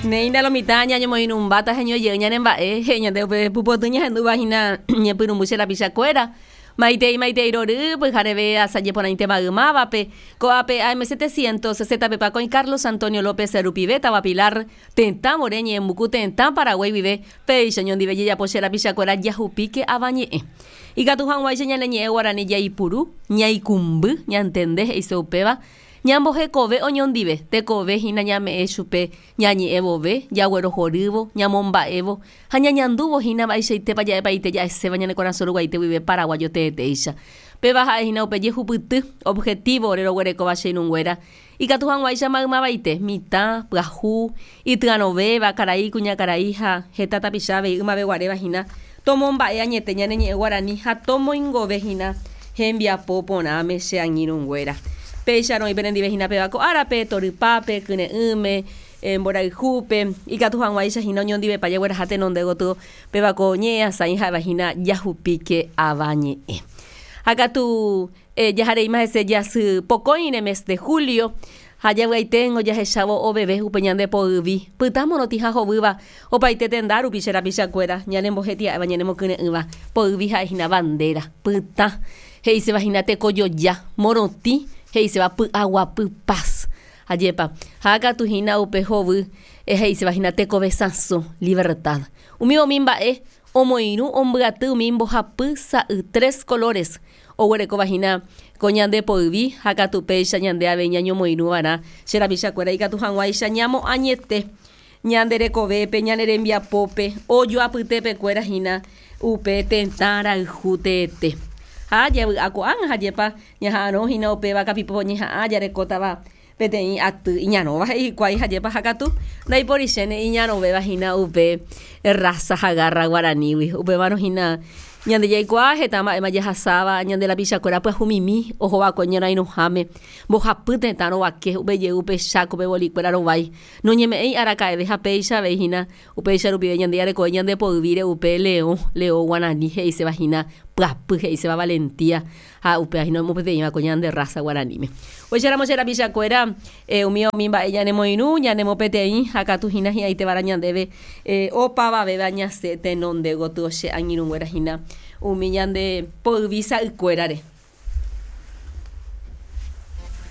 Néi, lo mitã ñañomoirũmbáta heñoijey ñane mba'e, he'i ñande upe pupoty ñahendúva hína ñepyrũmby che rapichakuéra. Maitei, maitei rory, pyhareve asaje porãite maymávape. Ko'ápe AM 760 pe pakõi Carlos Antonio López rupive, táva Pilar, tetã vore ñe'ẽmbuku tetã Paraguái guive, péicha oñondive jejapo che rapichakuéra jahupíke avañe'ẽ. Ikatu hag̃uáicha ñane ñe'ẽ guarani jaipuru, ñaikũmby, ñantende he'ise upéva, Ñambohekove oñondive, tekove hína ñame'ẽ chupe ñañe'ẽ vove, jaguerohorývo, ñamomba'évo ha ñañandúvo hína mba'eichaitépa ja'epaite ja'eséva ñane korasõ ruguaite guive paraguayo teetéicha. Péva ha'e hína upe jehupyty, objetivo, ore roguerekóva che irũnguéra, ikatu hag̃uáicha maymavaite, mitã, pyahu, ityarõvéva, karai, kuñakarai ha heta tapicha avei ymaveguaréva hína, tomomba'e añete ñane ñe'ẽ guarani ha tomoingove hína hembiapo porãme che angirũnguéra. Péicharõ oĩ penendive hína péva ko árape, torypápe, kyre'ỹme, mborayhúpe, ikatu hag̃uáicha hína oñondivepa jagueraha tenonde gotyo péva ko ñe'ẽasãi ha'éva hína jahupíke ava ñe'ẽ. Ha katu jahareíma hese jasy pokõire mes de julio ha javy'aiténgo jahechávo oveve upe ñande poyvi pytã morotĩ ha hovýva opaite tenda rupi che rapichakuéra ñanembohetia'éva ñanemokyre'ỹva poyvi ha'e hína bandera pytã he'iséva hína tekojoja morotĩ he'iséva py'aguapy paz ajépa ha katu hína upe hovy he'iséva hína tekove sãso libertad umi umi mba'e omoirũ ombyaty umi mbohapy sa'y tres colores Oguerekóva hína ko ñande poyvi, ha katu péicha ñande avei ñañomoirũ va'erã che rapichakuéra ikatu hag̃uáicha ñamoañete ñande rekovépe, ñane rembiapópe, ojoapytepekuéra hína upe tetã rayhu teete. Ha javy'a ko'ág̃a ha jepa ñaha'arõ hína upéva kapipo ñeha'ã jarekótava peteĩ aty iñarõva he'i hikuái ha jepa ha katu ndaiporichéne iñarõvéva hína upe raza ha garra guaranígui. Upévarõ hína ñande jaikuaa heta mba'éma jahasáva ñande rapichakuéra pyahumimi ohova'ekue ñorairõháme mbohapy tetã rovake upe jey upe Chákope bolikuéra rovái noñeme'ẽi araka'eve ha péicha avei hína Upéicha rupive ñande jarekove ñande poyvíre upe leõ, leõ guarani he'iséva hína pyapy, he'iséva valentía, ha upéva hína omopeteĩva ko ñande raza guaraníme. Upéicharamo che rapichakuéra, umi umi mba'e ñanemoirũ, ñanemopeteĩ, ha katu hína hi'ãiteva'erã ñandéve opavavéva ñasẽ tenonde gotyo che angirũnguéra hína umi ñande poyvi sa'ykuérare.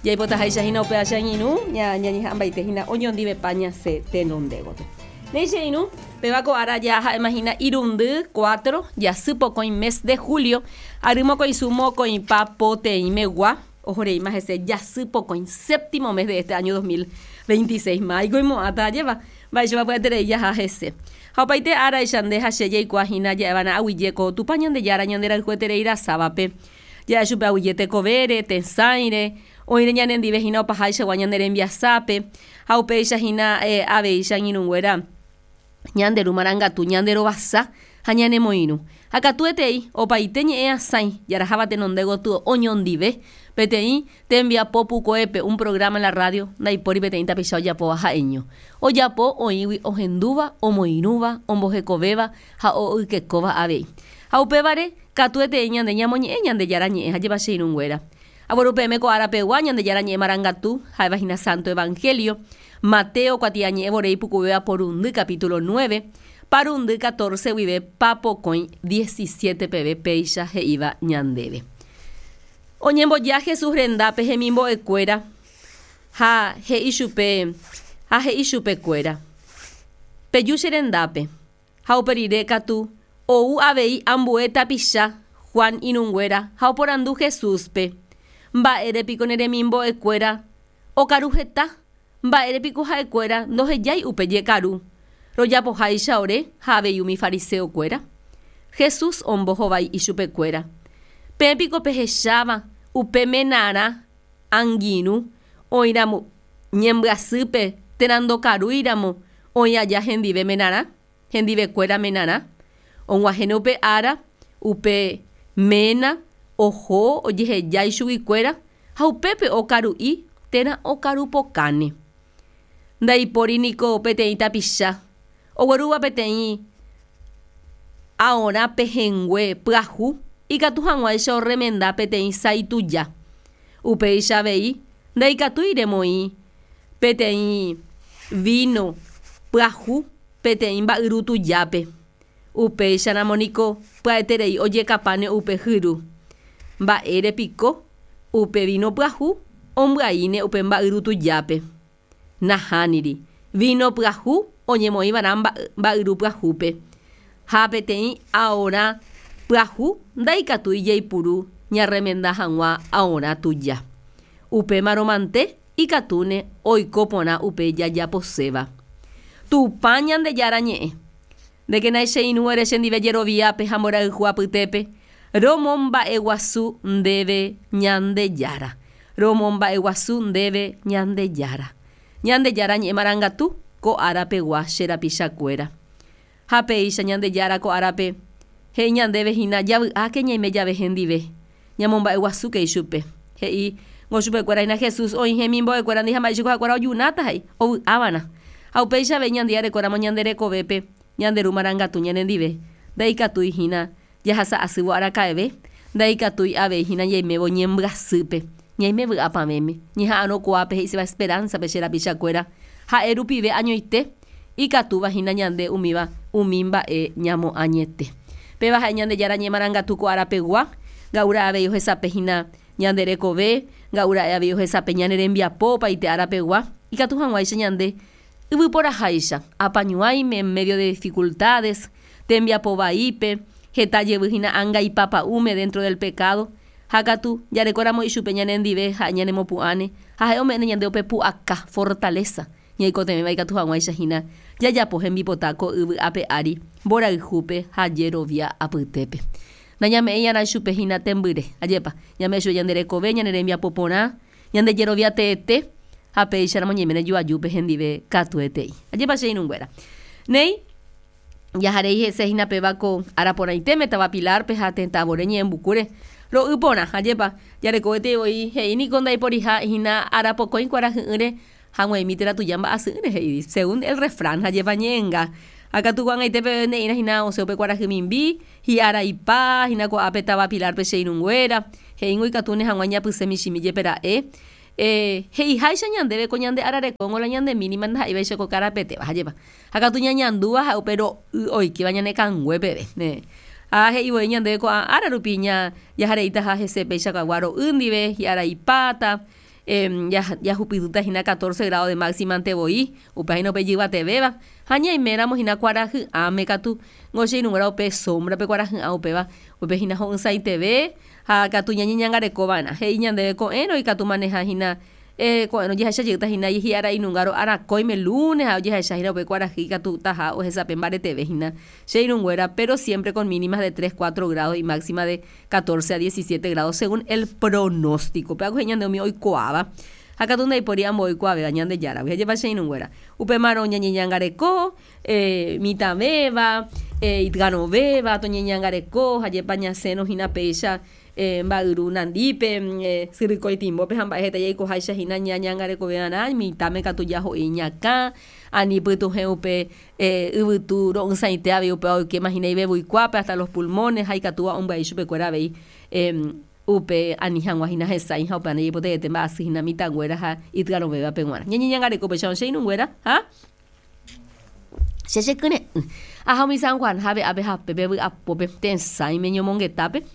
Jaipotaháicha hína upe che angirũ, ñañeha'ãmbaite hína oñondivepa ñasẽ tenonde gotyo. Néi che irũ, péva ko ára ja ha'éma hína irundy, cuatro, jasy pokõi mes de julio, ary mokõisu mokõipa poteĩmegua, ohoreíma hese jasy pokõi, séptimo mes de este año 2026. Máiko oimo'ãta ajépa, mba'éichapa pya'eterei jaha hese. Ha opaite áraicha nde ha che jaikuaa hína ja'eva'erã aguyje ko Tupã Ñandejára ñanderayhueterei rasávape. Ja'e chupe aguyje tekovére, tesãire, oĩre ñanendive hína opaháichagua ñane rembiasápe, ha upéicha hína avei che angirũnguéra ñande Ru Marangatu ñande rovasa ha ñanemoirũ. Ha katuetei, opaite ñe'ẽ asãi jaraháva tenonde gotyo oñondive, peteĩ tembiapo pukoépe, un programa en la radio, ndaipóri peteĩ tapicha ojapóva ha'eño. Ojapo oĩgui ohendúva, omoirũva, ombohekovéva ha o'ykekóva avei. Ha upévare, katuetei ñande ñamoñe'ẽ Ñandejára Ñe'ẽ ha jeva che irũnguéra. Agueru peẽme ko ára pegua Ñandejára Ñe'ẽ marangatu, ha'éva hína Santo Evangelio, Mateo kuatiañe'ẽ vore ipukuvéva porundy capítulo nueve, parundy catorce guive papokõi diecisiete peve péicha he'íva ñandéve. Oñemboja Jesús rendápe hemimbo'ekuéra ha he'i chupe ha he'i chupekuéra, Peju che rendápe. Ha upe rire katu ou avei ambue tapicha Juan irũnguéra ha oporandu Jesúspe, Mba'ére piko ne remimbo'ekuéra okaru heta? Mba'ére piko ha'ekuéra ndohejái upe jekaru, rojapoháicha ore ha avei umi fariseokuéra? Jesús ombohovái ichupekuéra, Peẽ piko pehecháva upe menarã angirũ oĩramo ñembyasýpe térã ndokarúiramo oĩ aja hendive menarã, hendivekuéra menarã? Og̃uahẽne upe ára, upe ména oho ojeheja ichuguikuéra ha upépe okaru'i térã okarupokáne. Ndaipóri niko peteĩ tapicha oguerúva peteĩ aorã pehẽngue pyahu ikatu hag̃uáicha orremenda peteĩ sái tuja. Upéicha avei ndaikatúi remoĩ peteĩ. Víno pyahu peteĩ mba'yru tujápe. Upéicharamo niko pya'eterei ojekapáne upe hyru. Mba'ére piko upe víno pyahu ombyaíne upe mba'yru tujápe? Nahániri, víno pyahu oñemoĩva'erã mba'yru pyahúpe. Ha peteĩ aorã pyahu ndaikatúi jaipuru ñarremenda hag̃ua aorã tuja. Upémarõ mante ikatúne oiko porã upe jajaposéva. Tupã Ñandejára ñe'ẽ. Ndékena che irũ ere chendive jeroviápe ha mborayhu apytépe, Romomba'eguasu ndéve Ñandejára. Romomba'eguasu ndéve Ñandejára. Ñandejára ñe'ẽ marangatu ko ára pegua che rapichakuéra. Ha péicha Ñandejára ko árape he'i ñandéve hína javy'áke ñaime jave hendive, ñamomba'eguasúke ichupe. He'i ngo chupekuéra hína Jesús oĩ hemimbo'ekuérandi ha mba'éicha ha'ekuéra ojunáta he'i, ovy'ava'erã. Ha upéicha avei ñande jarekóramo ñande rekovépe ñande Ru marangatu ñanendive, ndaikatúi hína jahasa asývo araka'eve, ndaikatúi avei hína ñaimévo ñembyasýpe, ñaime vy'apavẽme, ñeha'arõ kuaápe he'iséva esperanza-pe che rapichakuéra, ha'e rupive añoite ikatúva hína ñande umíva umi mba'e ñamoañete. Péva ha'e Ñandejára ñemarangatu ko arapegua, nga'ura'e avei ohesape hína ñande rekove, nga'ura'e avei ohesape ñane rembiapo opaite arapegua, ikatu hag̃uáicha ñande yvyporaháicha, apañuãime en medio de dificultades, tembiapo vaípe, heta jevy hína ánga ipapa'ũme dentro del pecado, ha katu jarekóramo ichupe ñanendive ha'e ñanemopu'ãne ha ha'e ome'ẽne ñande upe pu'aka, fortaleza, ñaikotevẽva ikatu hag̃uáicha hína jajapo hembipota ko yvy ape ári mborayhúpe ha jerovia apytépe. Nañame'ẽi'arã ichupe hína tembyre, ajépa, ñame'ẽ chupe ñande rekove, ñane rembiapo porã, ñande jerovia teete ha péicharamo ñaiméne joajúpe hendive katuetei. Ajépa che irũnguéra. Néi, jaharei hese hína péva ko ára porãitéme táva Pilar-pe ha tetã vore ñe'ẽmbukúre ro'y porã. Ajépa, jarekovetei voi he'i niko ndaiporiha hína ára pokõi kuarahy'ỹre Ha g̃uaig̃ui térã tuja mba'asy'ỹre he'i, según el refrán, ha jepa ñe'ẽnga. Ha katu ko'ag̃aite peve ne'ĩra hína osẽ upe kuarahy mimbi, hi'araipa hína ko'ápe táva Pilar-pe che irũnguéra, he'íngo ikatúne hag̃ua ñapysẽ michĩmi jepe ra'e. He'iháicha ñandéve ko ñande ára rekóngo la ñande mínima ndaha'éivaicha ko karapetéva, ha jepa. Ha katu ñañandúva ha'e upe ro'y oikéva ñane kangue peve. Ha he'i voi ñandéve ko'ã ára rupi jahareitaha hese péicha kagua ro'y ndive, hi'araipáta, Jahupytýta hína catorce grado de máxima-nte voi, upéva hína upe ijyvatevéva, ha ñaiméramo hína kuarahy'ãme katu, ngo che irũnguéra upe sombra-pe kuarahy'ã upéva, upe hína ho'ysãiteve ha katu ñañeñangareko va'erã. He'i ñandéve ko'ẽrõ ikatu maneha hína ko'ẽrõ ojehecha jeýta hína hi'ára inunga ro'arakõime lunes ha ojehecha hína upe kuarahy ikatutaha ohesape mbareteve hína che irũnguéra, pero siempre con mínimas de tres, cuatro grados y máxima de catorce a diecisiete grados según el pronóstico. Péva ko he'i ñande umi oikuaáva, ha katu ndaipóri ambue oikuaavéva Ñandejáragui. Ha jepa che irũnguéra, upémarõ ñañeñangareko, mitãvéva, itgarõvéva, toñeñangareko, ha jepa ñasẽrõ hína péicha mba'yru nandípe, syrykõi timbópe ha mba'e heta jaikoháicha hína ñañangarekove'arã, mitãme katu jaho'i iñakã, ani pytuhẽ upe Yvytu ro'ysãite avei upéva oikéma hína ivevuikuápe hasta los pulmones ha ikatúva ombyai chupekuéra avei upe ani hag̃ua hína hesãi ha upéva ndajaipotaiete mba'asy hína mitãnguéra ha ityarõvévape g̃uarã. Ñañeñangareko upéicharõ che irũnguéra ha che chekyre'ỹ. Aha umi San Juan jave ápe ha pépe vy'apópe tesãime ñomongetápe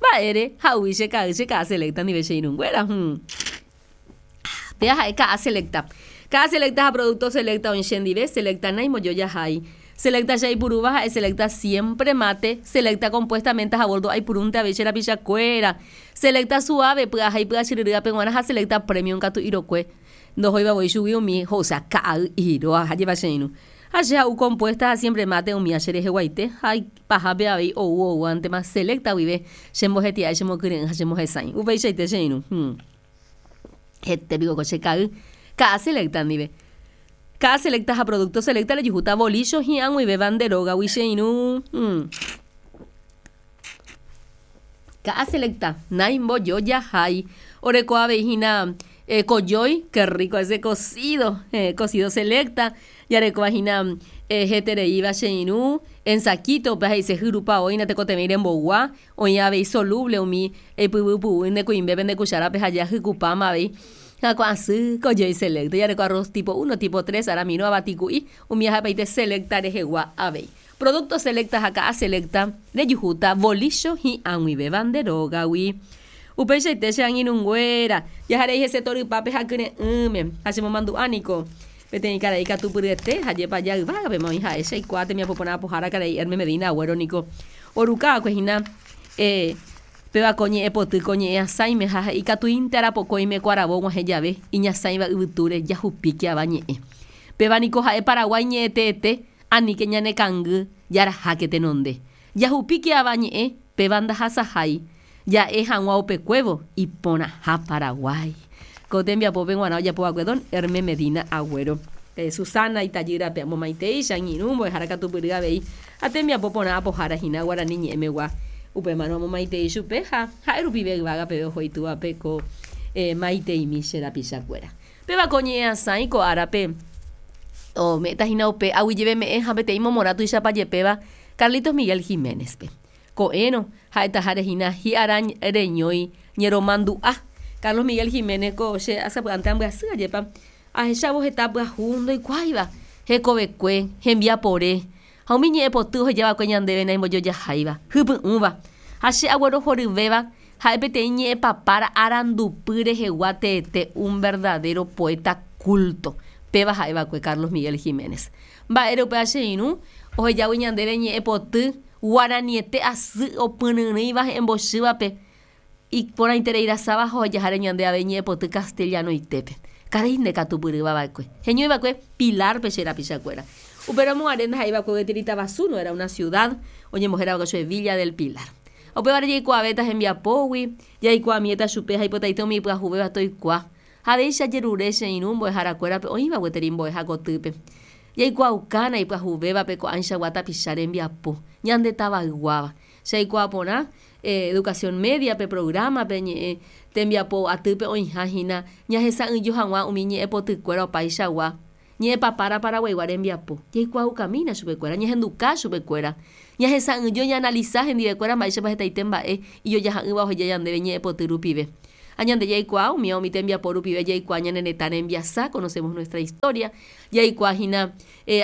mba'ére ha'úi che ka'ay che ka'a selecta ndive che irũnguéra. Péva ha'e ka'a selecta. Ka'a selecta ha producto selecta oĩ chendive, selecta naimojojahái. Selecta che aipurúva ha'e selecta siempre mate, selecta compuestamente ha boldo aipurúnte avei che rapichakuéra. Selecta suave, py'aha ipy'achyryrývape g̃uarã ha selecta premium katu irokue ndohóiva voi chugui umi ho'usa ka'ay iroa ha jepa che irũ. Ha che ha'u compuesta ha siempre mate umía che reheguaite ha ipahápe avei ou oúvantema selecta guive chembohetia'e chemokyre'ỹ ha chemohesãi. Upeichaite che irũ. Hete piko ko che ka'y. Ka'a selecta ndive. Ka'a selecta ha producto selecta rejuhúta bolícho hi'ag̃uivéva nde rógagui che irũ. Ka'a selecta naimbojojahái. Oreko avei hína kojói, qué rico ese cocido, cocido selecta. Jarekóva hína hetereíva che irũ, en saquito, upéva he'ise hyrupa oĩna tekotevẽ remboygua. Oĩ avei soluble umi eipyvypyvy nde kuimbépe nde cucharape ha ja hykupáma avei. Hyakuã asy ko jey Selecta. Jareko arroz tipo uno, tipo tres, aramirõ, avati ku'i, umi ahapaite Selecta rehegua avei. Producto Selecta ha ka'a Selecta rejuhúta volícho hi'ag̃uivéva nde rógagui. Upeichaite che angirũnguéra, jaharei hese torypápe ha kyre'ỹme, ha chemomandu'a niko peteĩ karai katupyryete ha jepa jayvágapema oĩ ha'e che aikuaa tembiapo porã apohára karai Hermes Medina Agũero niko oruka va'ekue hína eh Péva ko ñe'ẽ poty ko ñe'ẽ asãime ha he'i katuínte arapokõime ko aravo og̃uahẽ jave iñasãiva yvytúre jahupíke ava ñe'ẽ. Péva niko ha'e Paraguái ñe'ẽteete aníke ñane kangy jaraháke tenonde. Jahupíke ava ñe'ẽ péva ndahasahái ja'e hag̃ua upekuévo iporãha Paraguái. Ko tembiapópe g̃uarã ojapo va'ekue don Herme Medina Agũero. Susana itajýrape amomaitei, che angirũ, mbo'ehára katupyry avei ha tembiapo porã apohára hína guarani ñe'ẽmegua. Upémarõ amomaitei chupe ha ha'e rupive yvága peve oho itúvape ko maiteimi che rapichakuéra. Péva ko ñe'ẽasãi ko árape ome'ẽta hína upe aguyjeveme'ẽ ha peteĩ momorã tuichapa jepéva Carlitos Miguel Giménez-pe. Ko'ẽrõ, ha'etaháre hína hi'ara reñói ñeromandu'a. Carlos Miguel Giménez ko che sapy'ánte ambyasy ajépa ahechávo heta pyahu ndoikuáiva hekovekue, hembiapore ha umi ñe'ẽ poty ohejava'ekue ñandéve naimbojojaháiva, hypy'ũva. Ha che aguerohoryvéva ha'e peteĩ ñe'ẽpapára arandupy rehegua teete un verdadero poeta culto. Péva ha'eva'ekue Carlos Miguel Giménez. Mba'ére upéva che irũ ohejágui ñandéve ñe'ẽ poty guaraniete asy opyryrỹiva he'ẽmbochývape iporãitereirasáva ha ohejaháre ñande avei ñe'ẽ poty castellanoitépe. Karai nde katupyrýva va'ekue. Heñói va'ekue Pilar-pe che rapichakuéra. Upérõ mo'ãre ndaha'éi va'ekue gueteri tavasu, no era una ciudad, oñembohéra va'ekue chupe Villa del Pilar. Ha upévare jaikuaavéta hembiapógui, jaikuaamiéta chupe ha ipotaite umi ipyahuvéva toikuaa. Ha avei che ajerure che irũ mbo'eharakuérape oĩva gueteri mbo'eha kotýpe. Jaikuaaukána ipyahuvévape ko'ãichagua tapicha rembiapo, ñande tavayguáva. Che aikuaa porã educación media-pe, programa-pe, ñe'ẽ tembiapo atýpe oĩha hína ñahesa'ỹijo hag̃ua umi ñe'ẽpotykuéra opaichagua, ñe'ẽpapára paraguaigua rembiapo. Jaikuaaukamína chupekuéra, ñahenduka chupekuéra, ñahesa'ỹijo, ñaanalisa hendivekuéra mba'éichapa hetaite mba'e ijojaha'ỹva oheja ñandéve ñe'ẽpoty rupive. Ha ñande jaikuaa umíva umi tembiapo rupive jaikuaa ñane retã rembiasa, conocemos nuestra historia, jaikuaa hína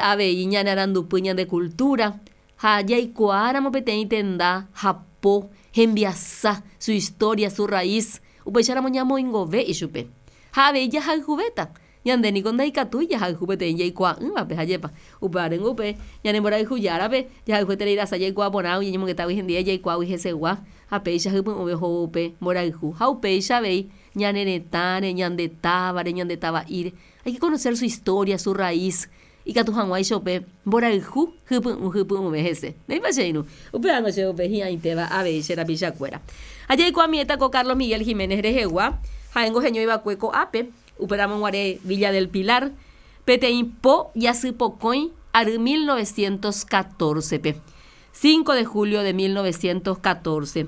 avei ñane arandupy, ñande cultura, ha jaikuaáramo peteĩ tenda hapo, hembiasa, su historia, su raíz, upéicharamo ñamoingove ichupe. Ha avei jahayhuvéta. Ñande niko ndaikatúi jahayhu peteĩ jaikuaa'ỹvape, hajépa. Upévarengo upe ñane mborayhu Járape jahayhueterei rasa jaikuaa porãgui, ñañemongetágui hendive jaikuaágui hesegua, ha péicha hypy'ũve ohóvo upe mborayhu. Ha upéicha avei ñane retãre, ñande távare, ñande tava'íre. Hay que conocer su historia, su raíz, ikatu hag̃uáicha upe mborayhu hypy'ũ hypy'ũve hese. Ndéipa che irũ? Upévango che upe hi'ãitéva avei che rapichakuéra. Ha jaikuaamiéta ko Carlos Miguel Giménez rehegua, ha'éngo heñoiva'ekue ko'ápe, Upéramo guare Villa del Pilar, peteĩ po jasypokõi ary 1914-pe, cinco de julio de 1914.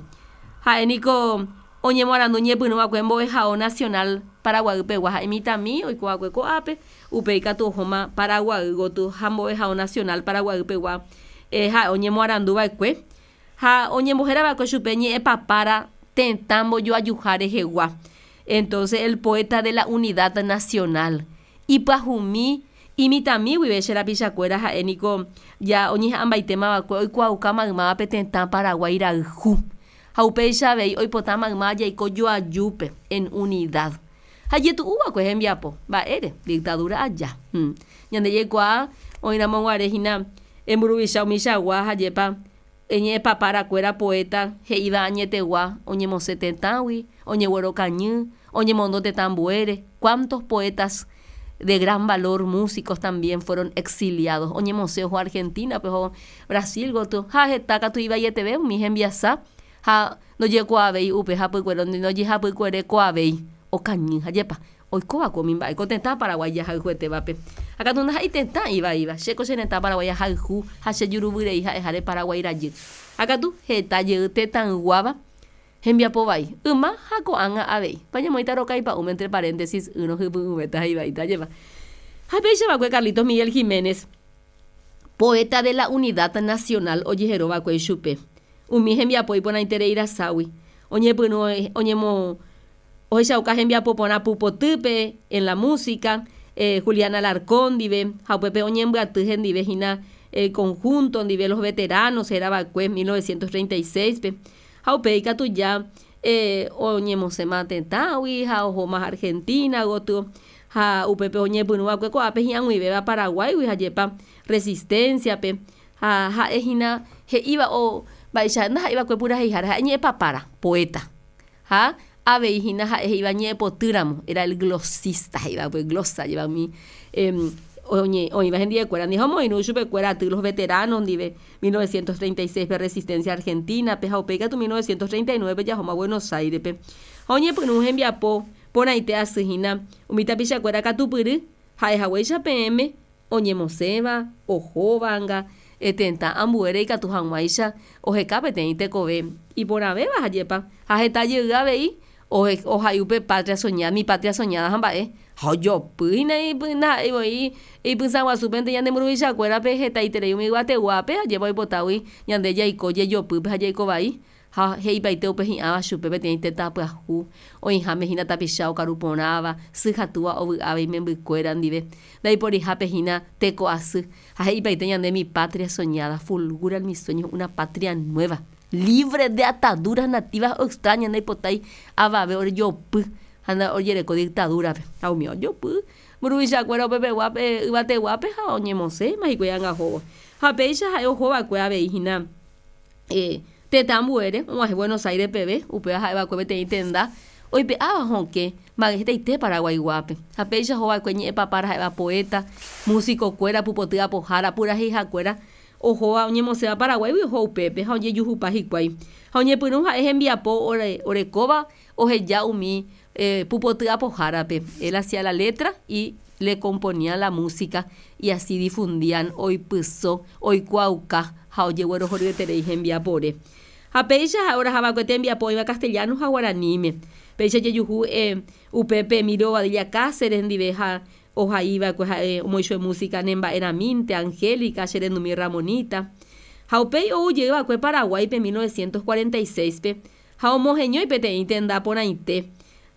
Ha'e niko oñemoarandu ñepyrũ va'ekue Mbo'ehao Nacional Paraguay pegua ha'e mitãmi oiko va'ekue ko'ápe, upéi katu ohóma Paraguay gotyo ha Mbo'ehao Nacional Paraguay pegua ha'e oñemoarandu va'ekue ha oñembohéra va'ekue chupe ñe'ẽpapára tetã mbojoajuha rehegua. Entonces el poeta de la unidad nacional ipyahumi imitãmi guive che rapichakuéra ha'e niko ja oñeha'ãmbaitéma va'ekue oikuaauka maymáva pe tetã Paraguái rayhu ha upéicha avei oipota maymáva jaiko joajúpe en unidad ha ijetu'u va'ekue hembiapo mba'ére dictadura aja ñande jaikuaa oĩramo guare hína emburuvicha umichagua ha jepa Eñe'ẽpaparakuéra poeta he'íva añetegua oñemosẽ tetãgui, oñeguerokañy, oñemondo tetã ambuére, cuántos poetas de gran valor, músicos también fueron exiliados, oñemosẽ oho Argentina-pe, oho Brasil gotyo, ha heta katu ivaieteve umi hembiasa ha ndojekuaavéi upe hapykuere, ndojehapykuerekuaavéi, okañy ha jepa. Oikóva ko umi mba'e ko tetã Paraguái jahayhuetévape. Ha katu ndaha'éi tetã ivaíva, che ko che retã Paraguái ahayhu ha che juruvyrei ha'eháre Paraguái rajy. Ha katu heta jey tetãyguáva hembiapo vai, yma ha ko'ág̃a avei. Pa ñamoĩta roka ipa'ũme entre paréntesis ỹrõ hypy'ũvéta ha ivaíta ajépa. Ha péicha va'ekue Carlitos Miguel Giménez, poeta de la Unidad Nacional ojehero va'ekue ichupe. Umi hembiapo iporãiterei raságui oñepyrũ oñemo. Ohechauka hembiapo porã pupotýpe en la música, Julián Alarcón ndive ha upépe oñembyaty hendive hína conjunto ndive Los Veteranos herava'ekue 1936-pe ha upéi katu ja oñemosẽma tetãgui ha ohóma Argentina gotyo ha upépe oñepyrũva'ekue ko'ápe hi'ag̃uivéva Paraguáigui ha jepa Resistencia-pe ha ha'e hína he'íva o mba'eicha ndaha'éiva'ekue puraheihára ha'e ñe'ẽpapára, poeta. Ha avei hína ha'e he'íva ñe'ẽpotýramo, era el glosista he'íva upe glosa jeva umi oĩva hendivekuéra ndive ha omoirũ chupekuéra aty los veteranos ndive 1936-pe Resistencia Argentina-pe ha upéi katu 1939-pe jahóma Buenos Aires-pe. Ha oñepyrũ hembiapo porãite asy hína umi tapichakuéra katupyry ha'ehaguéicha peẽme oñemosẽva, ohóvanga, tetã ambuére ikatu hag̃uáicha oheka peteĩ tekove iporãvéva ha jepa, ha heta jey avei ohai upe Patria soñada, mi patria soñada ha mba'e, ha ojopy hína ndaha'éi voi ipysã guasúpente ñande mburuvichakuérape hetaiterei umi yvateguápe ha jepa oipotágui ñande jaiko jejopýpe ha jaiko vai. Ha he'ipaite upe hi'ãva chupe peteĩ tetã pyahu, oĩháme hína tapicha okaru porãva, sy ha túva ovy'áva imembykuéra ndive, ndaiporihápe hína teko asy, ha he'ipaite ñande mi patria soñada, fulgura en mis sueños una patria nueva, libre de ataduras nativas o extrañas ndaipotái avave orejopy ha ojereko dictadura-pe. Ha umi ojopy mburuvichakuéra upepeguápe yvateguápe ha oñemosẽma hikuái anga ohóvo. Ha péicha ha'e ohova'ekue avei hína. Tetã ambuére og̃uahẽ Buenos Aires peve, upéva ha'eva'ekue peteĩ tenda oipe'áva hokẽ mba'e hetaite Paraguaiguápe. Ha péicha ohova'ekue ñe'ẽpapára ha'éva poeta, músico-kuéra, pupoty apohára, puraheihakuéra ohóva oñemosẽva Paraguáigui oho upépe ha ojejuhupa hikuái. Ha oñepyrũ ha'e hembiapo orekóva oheja umi pupoty apohárape, él hacía la letra y le componía la música y así difundían oipyso, oikuaauka ha ojeguerohoryeterei hembiapore. Ha péicha ha'e orahava'ekue tembiapo oĩva castellano ha guaraníme. Péicha ojejuhu upépe Emilio Bobadilla Cáceres ndive ha ohaiva'ekue ha'e omoichue música Nemba'erãmínte, Angélica, Che rendumi Ramonita. Ha upéi ou jeyva'ekue Paraguáipe 1946-pe Ha omoheñói peteĩ tenda porãite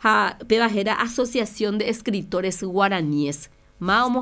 ha péva héra Asociación de Escritores Guaraníes. Ma omoheñói.